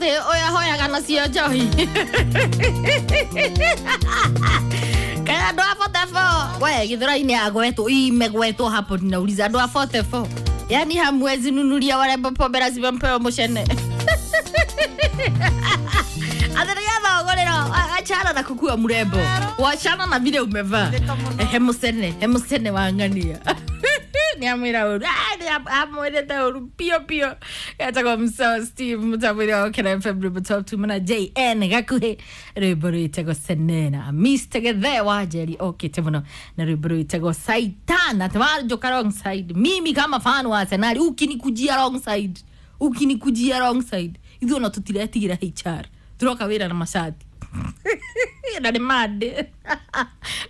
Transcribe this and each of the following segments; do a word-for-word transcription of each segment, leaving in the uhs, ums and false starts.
Atä å yå ahoyaga nacio njohi. Kaya andå a forty-four we githũrai-inĩ agwetwo imegwetwo hapo, ninauliza andå a forty-four, yani hamwezi nunulia warembo pombe, lazima mpewe mucene atĩ nĩgetha ũgũrĩrwo. Achana na kukua mrembo, wachana na vile umevaa. He mucene, he mucene wa ng'ania. Nĩ amwĩra ũru, amwĩrĩte ũru pio pio. Getagwo Mso Steve mũtambo-inĩ wa Gũkena F M, rwĩmbo top two mana J N gakuhĩ, rwĩmbo rwĩtagwo Senena. Mister Gethe wa Njeri okĩte mũno na rwĩmbo rwĩtagwo Saitan, atĩ wanjũka wrong side. Mimi kama fan wa Arsenal, ukinikujia wrong side, ukinikujia wrong side, ithuĩ ona tũtiretigĩra H R, turoka wĩra na macati na nĩ mande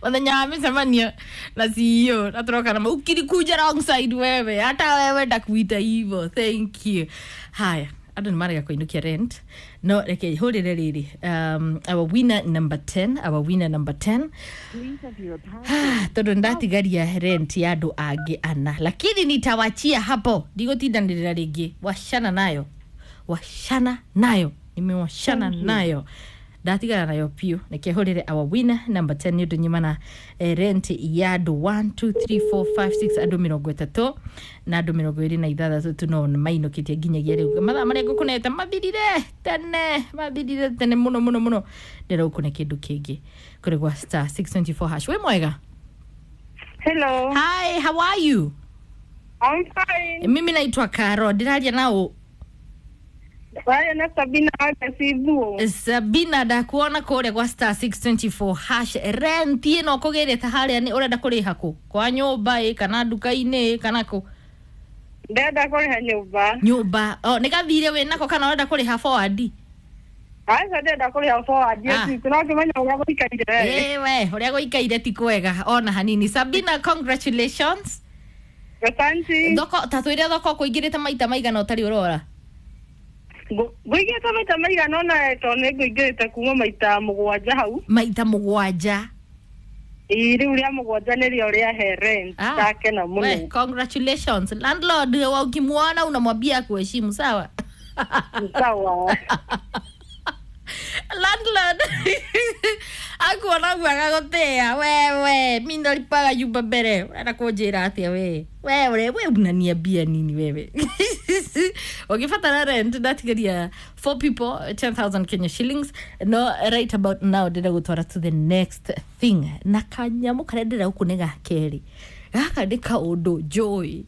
mũthenya wa mĩcemanio na C E O na turoka na ukinikuja wrong side, wewe, hata wewe ndakuita hivyo. Thank you. Haya, andũ nĩ marega kũinũkia rent, no reke hũrĩre rĩrĩ um, our winner number ten, our winner number ten, tondũ ndatigaria rent ya andũ angĩ ana, lakini nitawachia hapo, ndigũtindanĩrĩra rĩngĩ. Wachana nayo, wachana nayo, nimewachana nayo, ndatigana nayo piũ. Reke hũrĩre our winner number ten nĩ ũndũ nyumana eh, rent ya andũ one two three four five six, andũ mĩrongo ĩtatũ na andũ mĩrongo ĩrĩ na ithathatũ tu no mainũkĩtie nginyagia rĩu. Mathaa marĩa ngũkũnete mathirire tene, mathirire tene mũno mũno mũno. Ndĩraũkũne kĩndũ kĩngĩ kũrĩ gwa star six two four hash. Wĩ mwega? Hello. Hi, how are you? I'm fine. Mimi naitwa Karo, ndĩraria nao? Waya na Sabina Agasibu. Sabina, ndakuona kũrĩa gwa star six two four hash. Rent ĩno ũkũgĩrĩte harĩa nĩ ũrenda kũrĩha kũ? Kwa nyũmba ĩ kana nduka-inĩ ĩ kana kũ? Ndenda kũrĩha nyũmba. Nyũmba. Oh, nĩ gathirĩ wĩ nako kana ũrenda kũrĩha forward? Aca, ndenda kũrĩha forward. Ah. Yes, no ngĩmenya ũrĩa gũikaire. Ĩ we, ũrĩa gũikaire ti kwega ona hanini. Sabina, congratulations. Asante. Thoko ta twĩre thoko kũingĩrĩte maita maigana ũtarĩ ũrora? Ngũingĩrĩte maita maigana ũna, tondũ nĩ ngũingĩrĩte kuma maita mũgwanja hau. Maita mũgwanja? Ĩ, rĩu rĩa mũgwanja nĩrĩo rĩahe rent. Ah. Ndakena We, mũno. Congratulations. Landlord wa ukimwona unamwambia akuheshimu, sawa? Sawa. Landlord akuona ũguo agagũtĩa, wewe mi ndalipaga nyumba mbere, ũrenda kũnjĩra atĩa? We wewe we unaniambia nini wewe? Ũngĩbatara rent, ndatigaria four people ten thousand Kenya shillings. No right about now ndĩrenda gũtwara to the next thing na kanyamũ karĩa ndĩrenda gũkũ nĩ ga kerĩ. Gaka nĩ kaũndũ njũĩ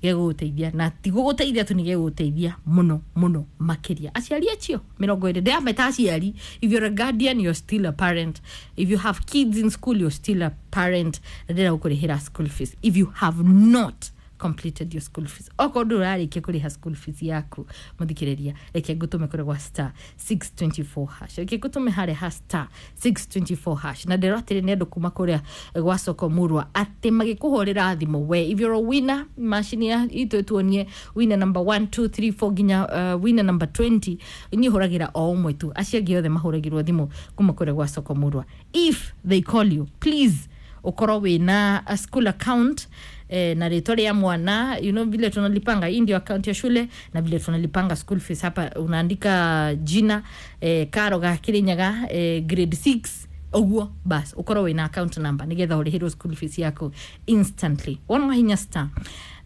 gegũgũteithia, na ti gũgũteithia tu, nĩ gegũgũteithia mũno mũno makĩria. Aciari acio mĩrongo ĩrĩ ndĩrameta aciari, if you're a guardian, you're still a parent. If you have kids in school, you're still a parent. Na ndĩrenda gũkũrĩhĩra school fees if you have not completed your school fees. Okorwo ndũrarĩkia kũrĩha school fees yaku, mũthikĩrĩria, reke ngũtũme kũrĩ gwa star six two four hash. Reke ngũtũme harĩa ha star six two four hash. Na ndĩrwo atĩrĩ, nĩ andũ kuma kũrĩa gwa soko murwa atĩ magĩkũhũrĩra thimũ, we, if you're a winner, macini ya itũ ĩtuonie winner number one two three four nginya uh, winner number twenty. Niĩ hũragĩra o ũmwe tu, acio angĩ othe mahũragĩrwo thimũ kuma kũrĩa gwa soko murwa. If they call you, please ukorwo wĩna a school account eh, na rĩtwa rĩa mwana. You know vile tunalipanga, hii ndio account ya shule na vile tunalipanga school fees hapa, unaandika jina eh, Karo ga Kirinyaga eh, grade six ũguo, bas ukorwo wĩna account number nigetha ũrĩhĩrwo school fees yaku instantly. Wona wahinya star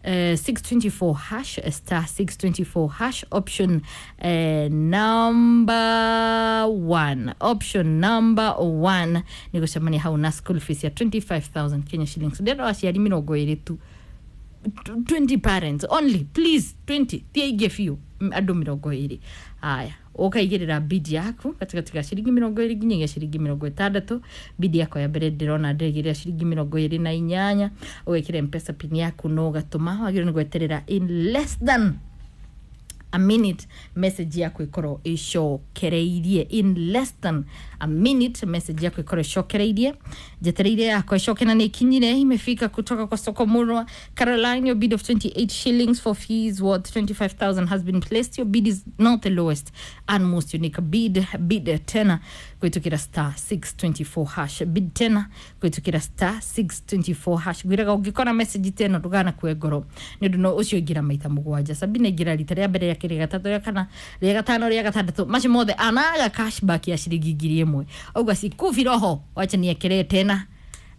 Uh, six two four hash, star six two four hash, option uh, number one, option number one, nĩ gũcemania hau na school fees ya twenty-five thousand Kenya shillings. Ndĩrenda aciari mĩrongo ĩrĩ tu, twenty parents only, please, twenty, ti aingĩ biũ. M- andũ mĩrongo ĩrĩ. Haya, ũkaigĩrĩra bid yaku gatagatĩ ga ciringi mĩrongo ĩrĩ nginyagia ciringi mĩrongo ĩtandatũ. Bid yakwa ya mbere ndĩrona ndĩraigĩrĩra ciringi mĩrongo ĩrĩ na inyanya. Ũgekĩra Mpesa PIN yaku na ũgatũma. Wagĩrĩirwo nĩ gweterera in less than a minute message yaku ikorwo icokereirie. In less than a minute message yaku ikorwo icokereirie. Njetereire yakwa icoke na nĩ ikinyire, imefika kutoka kwa soko murwa. Caroline, your bid of twenty-eight shillings for fees worth twenty-five thousand has been placed. Your bid is not the lowest and most unique bid. Bid tena kwitukira star six two four hash. Bid tena kwitukira star six two four hash. Ngwiraga ũngĩkora message teno ndũgana kue ngoro nĩ ũndũ no ũcio ingĩra maita mũgwanja. Sabina ingĩra rita rĩa mbere, rĩa kerĩ. kerĩ, rĩa gatatũ, rĩa kana, rĩa gatano, rĩa gatandatũ, macio mothe anaga cashback ya ciringi ngiri ĩmwe. Auga sikufi roho, wacha niekelee tena.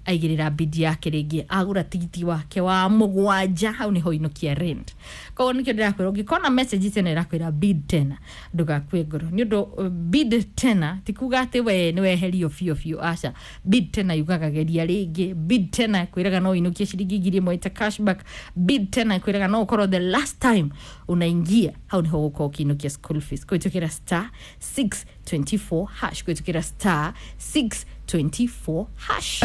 Aigĩrĩra bidi yake rĩngĩ, agũra tigiti wake wa mũgwanja, hau nĩho inukia rent. Koguo nĩkĩo ndĩrakwĩra, ũngĩkona message tena ĩrakwĩra bid tena, ndũgakue ngoro nĩ ũndũ uh, bid tena ti kuga atĩ we nĩ weherio biũ biũ, aca. Bid tena yugaga geria rĩngĩ. Bid tena kwĩraga no ũinũkie ciringi ngiri ĩmwe ita cashback. Bid tena kwĩraga no ũkorwo the last time unaingia, hau nĩho ũgũkorwo ũkĩinũkia school fees kũhĩtũkĩra star six twenty-four hash, kũhĩtũkĩra star six twenty-four hash.